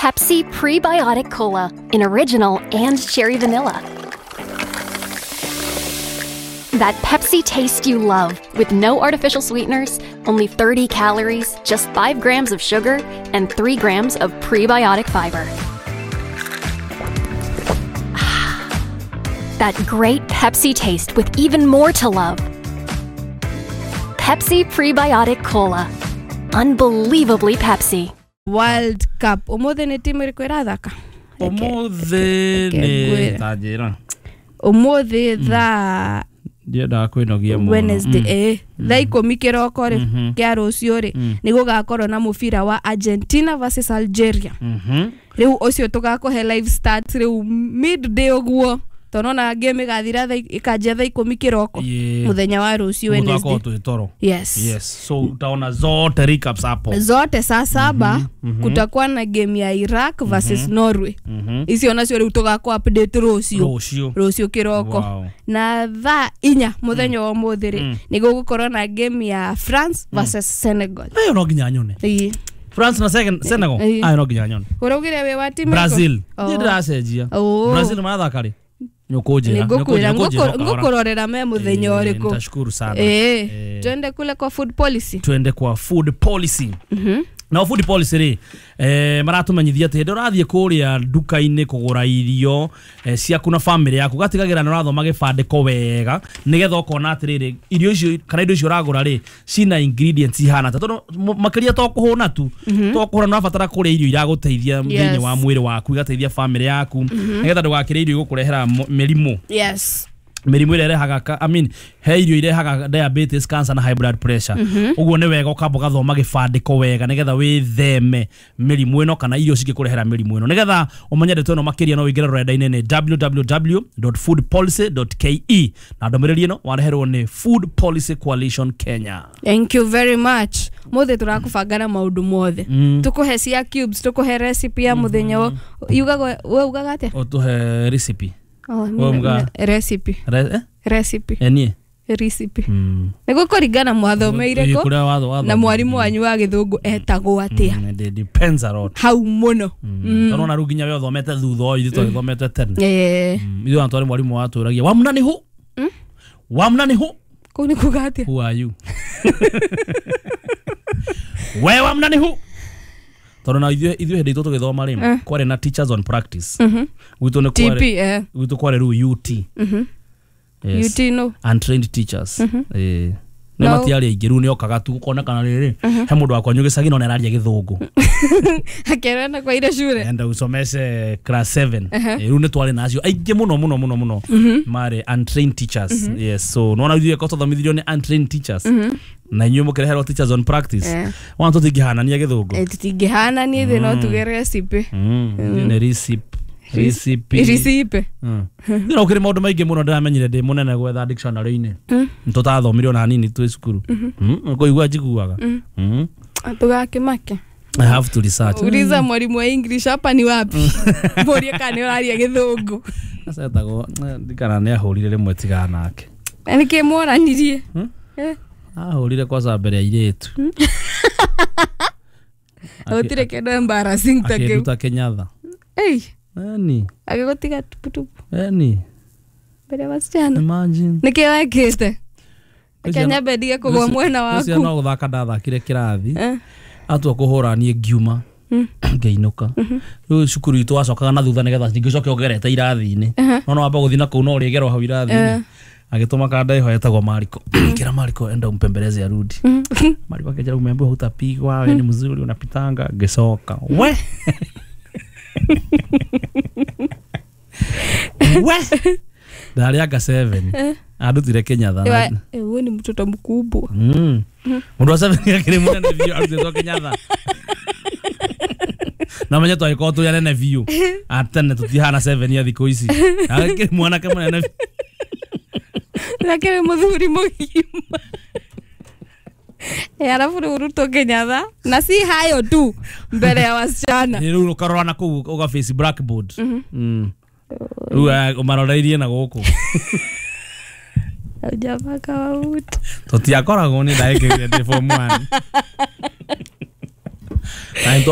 Pepsi Prebiotic Cola in original and cherry vanilla. That Pepsi taste you love with no artificial sweeteners, only 30 calories, just 5 grams of sugar, and 3 grams of prebiotic fiber. That great Pepsi taste with even more to love. Pepsi Prebiotic Cola. Unbelievably Pepsi. World Cup. Ũmũthĩ nĩ timu ĩrĩkũ ĩrathaka? Ũmũthĩ nĩ ta njĩra. Ũmũthĩ thaa Ndiendaga kwĩnogia mũno. Wednesday thaa 10 kĩroko rĩ kĩa rũciũ rĩ nĩ gũgakorwo na mũbira wa Argentina versus Algeria. Rĩu ũcio tũgakũhe live start rĩu midday ũguo tonona game ĩgathira thaa ĩkanjia thaa 10 kĩroko mũthenya wa rũciũ Wednesday. Toro. Yes. Yes. So utaona zote recaps hapo. Zote saa 7 kutakuwa na game ya Iraq versus Norway. Icio nacio rĩu tũgakũ update rũciũ. Rũciũ kĩroko. Wow. Na thaa 4 mũthenya wa ũmũthĩ rĩ nĩ gũgũkorwo na game ya France versus Senegal. Ayo no nginya nyone. France na Senegal. Ayo no nginya nyone. Ũraugire wĩ wa timu Brazil. Ndiĩ ndĩracenjia. Brazil marathaka rĩ? Ngukurorera me muthenya uriku. Nitashukuru sana. Twende kule kwa food policy. Twende kwa food policy. Na food policy ri maratumenyithia ati hĩndĩ ũrathiĩ kũrĩa nduka-inĩ kũgũra irio ciaku na family yaku gatigagira nĩ ũrathoma gĩbandĩko wega nĩgetha ũkona atĩrĩrĩ irio icio kana indo icio ũragũra rĩ cina ingredients ihana ta tondũ makĩria to kũhũna tu to kũhũna nĩ ũrabatara kũrĩa irio iragũteithia thĩinĩ wa mwĩrĩ waku igateithia family yaku nĩgetha ndũgakĩrĩe irio igũkũrehera mĩrimũ. Yes. Mĩrimũ ĩrĩa ĩrehaga I mean he irio irehaga diabetes, cancer na high blood pressure. Ũguo nĩ wega ũkamba ũgathoma gĩbandĩko wega nĩgetha wĩtheme mĩrimũ ĩno kana irio cingĩkũrehera mĩrimũ ĩno. Nĩgetha ũmenye ndeto ĩno makĩria no ũingĩre rũrenda-inĩ nĩ www.foodpolicy.ke na ndũmĩrĩri ĩno wareherwo nĩ Food Policy Coalition Kenya. Thank you very much. Mothe tũrakũbanga na maũndũ mothe. Tũkũhe cia cubes, tũkũhe recipe ya mũthenya yugaga we ugaga atĩa? Ũtũhe recipe. Oh, recipe. Recipe. Enie. Recipe. Nĩguo kũringana mwathomeire kũ na mwarimũ wanyu wa gĩthũngũ etagwo atĩa. It depends a lot. Hau mũno. Tondũ ona rĩu nginya we ũthomete thutha ũyũ ithuĩ twagĩthomete tene. Ithuĩ ona twarĩ mwarimũ watwĩragia wamna nĩ hu? Wamna nĩ hu? Kũu nĩ kuga atĩa? Who are you? We wamna nĩ hu? Tondũ na ithuĩ hĩndĩ itũ tũgĩthoma rĩ kwarĩ na teachers on practice. Gwitũ nĩ kwarĩ gwitũ kwarĩ rĩu UT. Yes. UT no untrained teachers. Nĩ matiarĩ aingĩ rĩu nĩ okaga tu gũkonekana rĩrĩ he mũndũ wakwa gĩcagi no nĩararia gĩthũngũ. Akerana kwa ile shule. Enda usomeshe class 7. Rĩu nĩ twarĩ nacio aingĩ mũno mũno mũno mũno marĩ untrained teachers. Yes, so nona ithuĩ ko tũthomithirio nĩ untrained teachers. Na inyuĩ mũkĩreherwo teachers on practice. Wana tũtingĩhanania gĩthũngũ. Tũtingĩhanania ithuĩ no tuge recipe. Nĩ recipe. Recipe. Recipe. Nĩ ũkĩrĩ maũndũ maingĩ mũno ndĩramenyire ndĩ mũnene gwetha dictionary-inĩ. Tũtathomire ona hanini twĩ cukuru. Kũigua njiguaga. Tũgakĩmake. I have to research. Uliza mwalimu wa English hapa ni wapi? Mborie kana ũraria gĩthũngũ. Sasa etagwo ndikana nĩ ahũrire rĩmwe tigana nake. Na nĩkĩ mworanirie? Ahũrire kwanza mbere ya airĩtu. Gũtirĩ kĩndũ embarrassing ta kĩu. Akĩnduta Kenyatta. Ei. Eni. Agĩgũtiga tuputupu. Eni. Mbere ya wasichana. Imagine. Nĩkĩ wekĩte? Kenya bendige kũgwa mwena waku. Ũcio no gũthaka ndathakire kĩrathi. Atua kũhũra niĩ ngiuma. Ngĩinũka. Rĩu cukuru itũ wacokaga na thutha nĩgetha ningĩ ũcoke ũgerete irathi-inĩ. No no wamba gũthiĩ na kũu no ũrĩgerwo hau irathi-inĩ. Agĩtũma kanda ĩho etagwo Mariko. Kĩra Mariko enda umpembeleze arudi. Mariko akĩnjĩra umeambiwa hutapigwa, wewe ni mzuri unapitanga. Ngĩcoka. We. We. Ndarĩ anga 7. Andutire Kenyatta. Wewe ni mtoto mkubwa. Mũndũ wa 7 akĩrĩ mũnene biũ arutĩtwo Kenyatta. Na menye twagĩkorwo tũrĩ anene biũ. Atene tũtihana 7 ya thikũ ici. Akĩrĩ mwanake mũnene biũ. Lakini mũthuri mũgima. Alafu rĩu ũrutwo Kenyatta na si hayo tu mbere ya wasichana. Rĩu ũkarora na kũu ũga face blackboard. Rĩu ũmaroreirie na gũkũ. Hujapaka mafuta. Tũtiakoragwo nĩ ndagĩkĩrire ndĩ form 1. Na nĩ